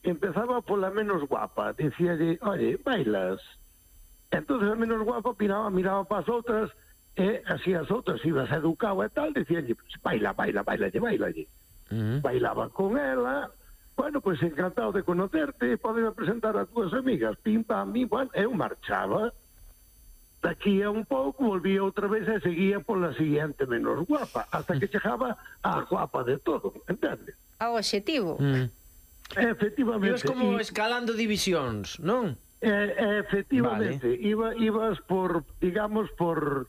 empezaba pola menos guapa, dicíalle, oye, bailas. Entonces a menos guapa miraba para as outras, e así as outras ibas educado e tal, dicíalle, pues, bailalle. Bailaba con ela, bueno, pues encantado de conocerte, podeme presentar a túas amigas, pim, pam, pim, bueno, eu marchaba. Daqui a un pouco volvía outra vez e seguía pola siguiente menos guapa, hasta que chegaba a guapa de todo, entendes? Ao obxectivo. Efectivamente. Ibas como escalando divisións, non? Efectivamente, vale. Ibas por, digamos, por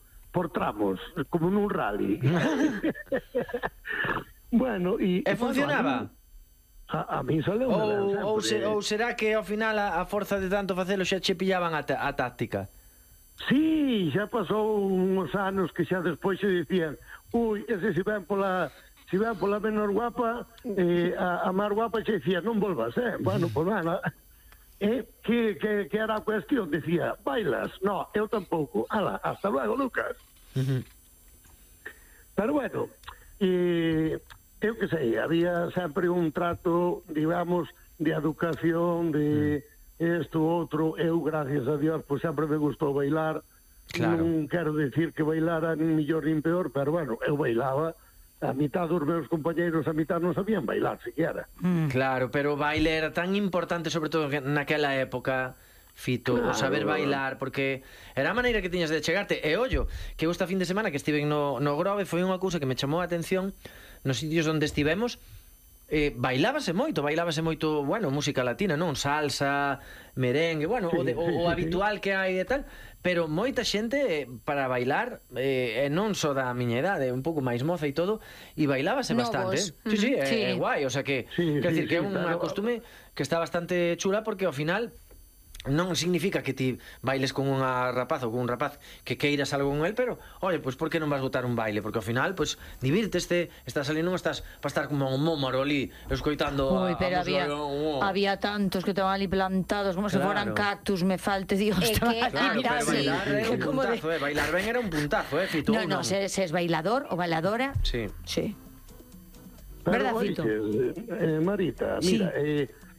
tramos, como nun rally. Bueno, e funcionaba? A mí sale ou será que ao final a forza de tanto facelo xa che pillaban a táctica? Sí, xa pasou uns anos que xa despois se dicían, ese se ven pola menor guapa, a máis guapa xe dicía, non volvas, bueno, pues nada. Que era a cuestión, decía, bailas? No, eu tampouco. Ala, hasta luego, Lucas. Pero bueno, eu que sei, había sempre un trato, digamos, de educación, de isto, outro. Eu, gracias a Dios, pues sempre me gustou bailar. Claro. Non quero decir que bailara nin mellor nin peor, pero bueno, eu bailaba. A mitad dos meus compañeiros, a mitad non sabían bailar, siquiera. Claro, pero o baile era tan importante, sobre todo naquela época, Fito, claro, o saber bailar, porque era a maneira que tiñas de chegarte. E ollo, que esta fin de semana que estiven no Grove foi unha cousa que me chamou a atención nos sitios onde estivemos. Bailábase moito, bueno, música latina, non? Salsa, merengue, bueno, sí, o habitual que hai e tal, pero moita xente para bailar, non só da miña idade, un pouco máis moza e todo, e bailábase bastante. Sí, é guai, o sea que, quer dicir que é unha costume que está bastante chula, porque ao final non significa que ti bailes con unha rapaz ou con un rapaz que queiras algo con él, pero, oye, pues por que non vas botar un baile? Porque ao final, pues, divírteste, estás ali, non estás para estar como un mómaro ali, escoitando pero había tantos que estaban ali plantados como se foran cactus, me falte Dios. Claro, pero bailar era un puntazo, bailar ben era un puntazo, Fito. No, se es bailador ou bailadora. Sí. Verdad, Fito? Marita, mira,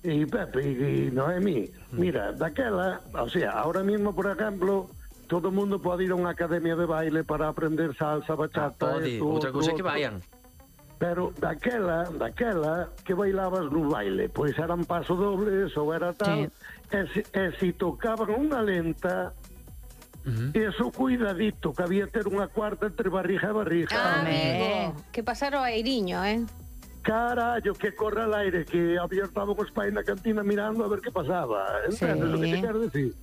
e Pepe e Noemí, mira, daquela, o sea, ahora mismo, por ejemplo, todo o mundo pode ir a unha academia de baile para aprender salsa, bachata, outra cousa que vayan. Pero daquela que bailabas no baile, pois eran pasodobles ou era tal, e si tocaban unha lenta, eso cuidadito, que había ter unha cuarta entre barriga e barriga. Amigo, que pasaron a Eiriño, Carallo, que corre al aire, que había estado os pais na cantina mirando a ver que pasaba, entendes o que te quero decir?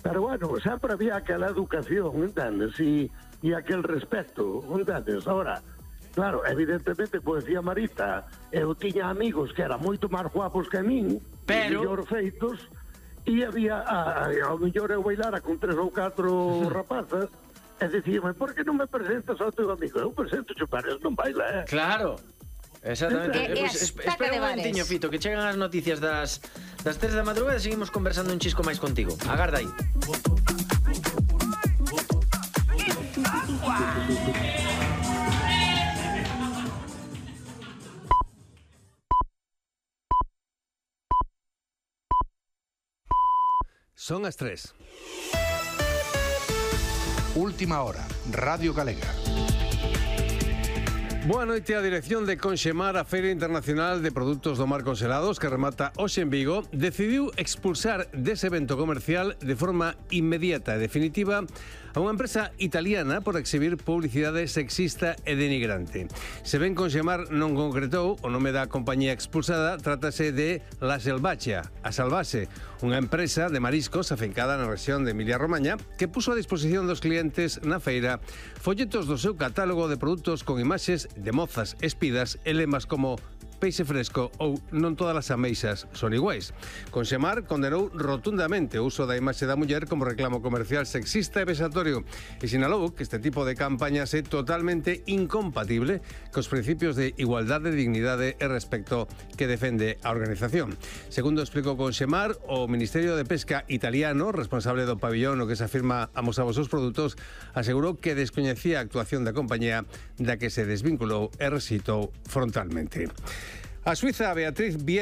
Pero bueno, sempre había aquela educación, entendes, e aquel respeto, entendes? Ahora, claro, evidentemente, pois decía Marita, eu tiña amigos que eran moito máis guapos que a min, pero mellor feitos, e había, ao mellor eu bailara con 3 ou 4 rapazas, e dicíame, por que non me presentas ao teu amigo? Eu presento, pero non baila, Claro. Exactamente. Espera un momentiño, Fito, que chegan as noticias das 3 da madrugada e seguimos conversando un chisco máis contigo. Agarda aí. Son as 3. Última hora, Radio Galega. Boa noite. A dirección de Conxemar, a Feira Internacional de Produtos do Mar Congelados, que remata hoxe en Vigo, decidiu expulsar dese evento comercial de forma inmediata e definitiva a unha empresa italiana por exhibir publicidade sexista e denigrante. Se ben Conxemar non concretou o nome da compañía expulsada, trátase de La Selvaggia, a Salvase, unha empresa de mariscos afincada na rexión de Emilia-Romaña que puso a disposición dos clientes na feira folletos do seu catálogo de produtos con imaxes de mozas espidas e lemas como peixe fresco ou non todas as ameixas son iguais. Conxemar condenou rotundamente o uso da imaxe da muller como reclamo comercial sexista e vexatorio e sinalou que este tipo de campañas é totalmente incompatible cos principios de igualdade, dignidade e respecto que defende a organización. Segundo explicou Conxemar, o Ministerio de Pesca italiano, responsable do pabillón no que se afirma amosaba os seus produtos, asegurou que descoñecía a actuación da compañía da que se desvinculou e resitou frontalmente. A suiza Beatriz Viez